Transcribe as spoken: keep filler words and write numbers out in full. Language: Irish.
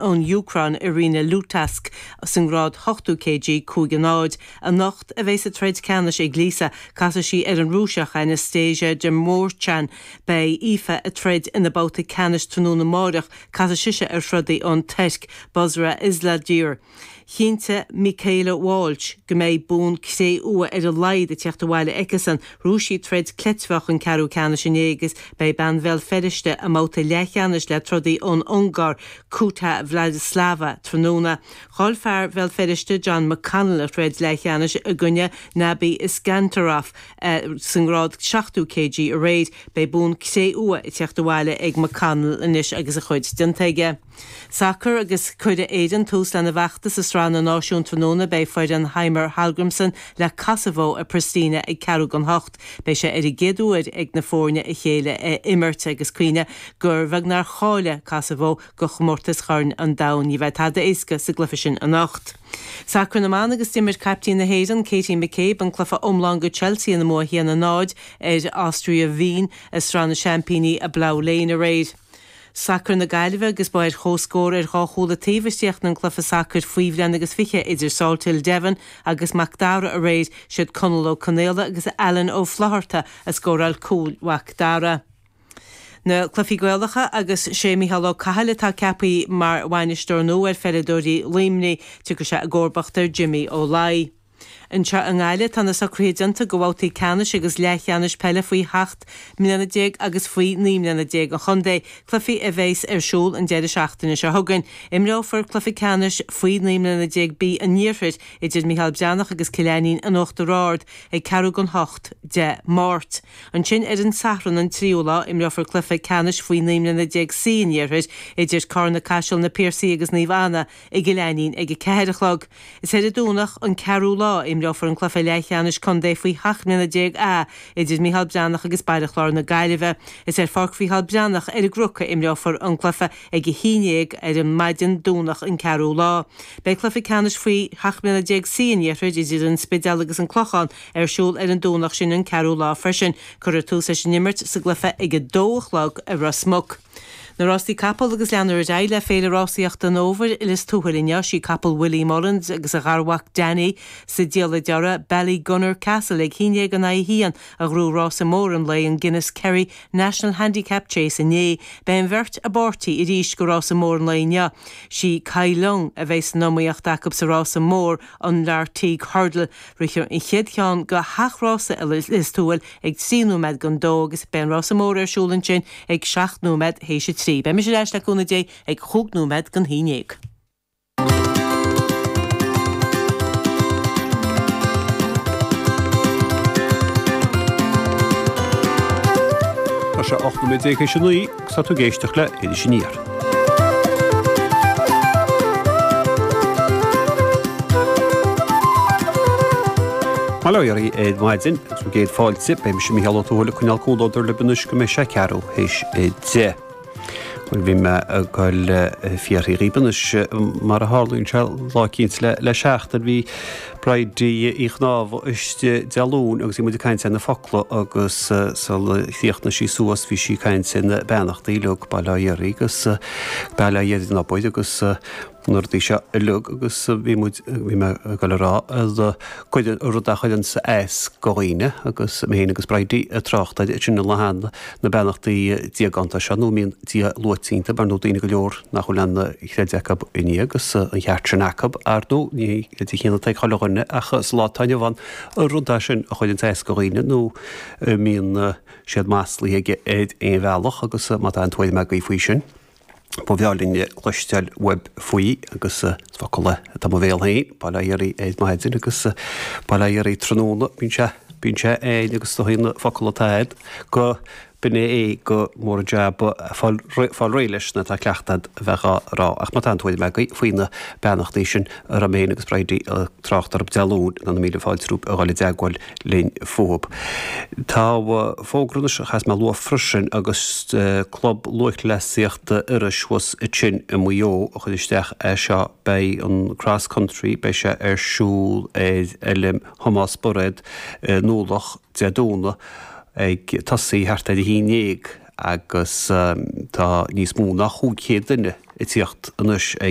ón Úcráin Irina Lutask sa ngrád ochtó kg cúig a náid. Anocht a bheas an troid ceannais ag Lisa, casfaidh sí ar an Rúiseach Anastasia Demurchan. Beidh Aoife ag troid ina babhta ceannais tráthnóna amárach, casfaidh sise ar throdaí ón Tuirc, Busra Islidir. Chinntigh Michaela Walsh go mbeidh bonn cré-umha ar a laghad ag teacht abhaile aici-san. Ghnóthaigh sí troid cleitmheach an ceathrú ceannais inné agus beidh bean Bhéal Feirste i mbabhta leathcheannais le trodaí ón Ungáir, Kuta Vladislava, tráthnóna. Chaill fear Bhéal Feirste John McConnell a throid leathcheannais i gcoinne Nabi Iskandarov sa ngrád seachtó kg aréir. Beidh bonn cré-umha ag teacht abhaile ag McConnell anois agus a chuid déanta aige. Sacar agus cuirfidh Éirinn tús lena bhfeachtas i Sraith na Náisiún tráthnóna. Beidh foireann Heimir Hallgrímsson le Kosovo i Pristina ag ceathrú don hocht. Beidh sé ar an gcéad uair ag na foirne a chéile a imirt agus cuimhnigh gur bheag nár cháiligh Kosovo go chomórtas Chorn an Domhain. Ní bheidh tada éasca sa gcluiche sin anocht. Sacar na mban agus d'imir caiptín na hÉireann Katie McCabe an cluiche iomlán go Chelsea ina mbua a haon a náid ar Austria Wien i Sraith na Seaimpíní i Plough Lane aréir. Sacar na Gaillimhe agus ba ar chomhscór ar dhá chúl an taobh a chríochnaigh an cluiche sacair faoi bhliain agus fiche idir Salthill Devon agus Mac Dara aréir. Siad Conall Ó Conaola agus Alan Ó Flatharta a scóráil cúil Mhac Dara. Na cluichí Gaelacha agus sé Micheál Ó Cathail atá ceaptha mar bhainisteoir nua ar pheileadóirí Luimnigh. Tiocfaidh sé i gcomharbacht ar Jimmy Ó Laoi. Anseo i nGaillimh tá na socruithe déanta go bhabhtaí ceannais agus leathcheannais peile faoi sheacht mbliana déag agus faoi naoi mbliana déag an chontae, cluichí a bheas ar siúl an deireadh seachtaine seo chugainn. Imreofar cluiche ceannais faoi naoi mbliana déag B an Iarthair idir Micheál Breathnach agus Cill Ainnín in Uachtar Ard ag ceathrú don hocht Dé Máirt. Ansin ar an Satharn an tríú lá imreofar cluiche ceannais faoi naoi mbliana déag C an Iarthair idir Carna Caiseal na Piarsaigh agus Naomh Anna i gCill Ainnín ag a ceathair a chlog. Is ar an Domhnach an ceathrú lá imreofar an cluiche leathcheannais contae faoi sheacht mbliana déag A idir Micheál Breathnach agus Baile Chláir na Gaillimhe. Is ar Pháirc Mhicheál Breathnach ar an gCnoc a imreofar an cluiche ag a haon déag ar an maidin Domhnach an ceathrú lá. Beidh cluiche ceannais faoi sheacht mbliana déag C an Iarthair idir an Spidéal agus an Clochán ar siúl ar an Domhnach sin an ceathrú lá freisin. Cuirfear tús leis an imirt sa gcluiche ag a dó a chlog i Ros Muc. Na rásaí capall agus leanfar ar aghaidh le Féile Rásaíochta an Fhómhair i Lios Tuathail inniu. Sí capall Willie Mullins agus a gharmhac Danny sa diallait deiridh Ballygunner Castle ag haon déag in aghaidh a haon a ghnóthaigh rása mór an lae an Guinness Kerry National Handicap Chase inné. Beidh an bheirt i bpáirtí arís go rása mór an lae inniu. Sí Kai Lung a bheidh san iomaíocht acu sa rása mór an Lartigue Hurdle. Rithfear an chéad cheann go heach-rása i Lios Tuathail ag trí nóiméad don dó agus beidh an rása mór ar siúl ansin ag seacht nóiméad théis a trí. Beidh mise ar ais le cúnamh Dé ag chúig nóiméad don haon déag. Tá sé ocht nóiméad déag théis a naoi agus tá tú ag éisteacht le Iris Aniar. Bail ó Dhia oraibh ar maidin agus bhur gcéad fáilte. Beidh mise Mícheál Ó Tuathail ag coinneáil comhluadar libh anois go mbeidh sé ceathrú théis a deich. Bhuel, bhí mé ag goil ag fiafraí dhíbh anois, mar a tharlaíonn sé lá eicínt le le seachtain, bhí Bridie Uí Chnámha istigh Dé Luain agus bhí muid ag caint ar na focla agus sula chríochnaigh sí suas bhí sí ag caint ar na beannachtaí uilig, bail ó Dhia oraibh agus bail ó Dhia ar an obair agus na rudaí seo uilig agus bhí muid, bhí mé ag goil a rá, cuid, rud a chuireanns as go dhaoine agus mé féin agus Bridie ag trácht air sin an lá cheana, na beannachtaí diagánta seo nó a mbíonn Dia luaite iontu, ar ndóigh daoine go leor nach bhfuil aon chreideamh acu i nDia agus an cheart sin acu, ar ndóigh ní creideamh chéanna atá ag chuile dhuine ach sa lá atá inniu ann an rud é sin a chuireanns as go dhaoine nó a mbíonn siad maslaithe aige ar aon bhealach agus má tá aon tuairim agaibh faoi sin. Ba bhreá linn cloisteáil uaibh faoi agus is focal é atá i mo bhéal féin, bail ó Dhia oraibh ar maidin agus bail ó Dhia oraibh tráthnóna, bíonn sé, bíonn sé ann agus is dóigh na focail atá agat go b'in é go mór an jab fáil, fáil réidh leis nuair atá cleachtadh a'd a bheith dhá rá. Ach má tá aon tuairim agaibh faoi na beannachtaí sin a raibh mé féin agus Bridie ag trácht orthu Dé Luain, ná na míle fáilte romhaibh a dhul i dteagmháil linn fúthu. Tá fógra anois a chaithfeas mé a lua freisin agus Club Lúthchleasaíochta Iorrais thuas ansin i Maigh Eo a chuir isteach é seo. Beidh an Cross Country, beidh sé ar siúl ar Fheilm Thomás Bairéad i nDúloch Dé Domhnaigh ag tosaí thart ar a haon dhéag. Agus tá níos mó ná chúig chéad duine ag tíocht anois ag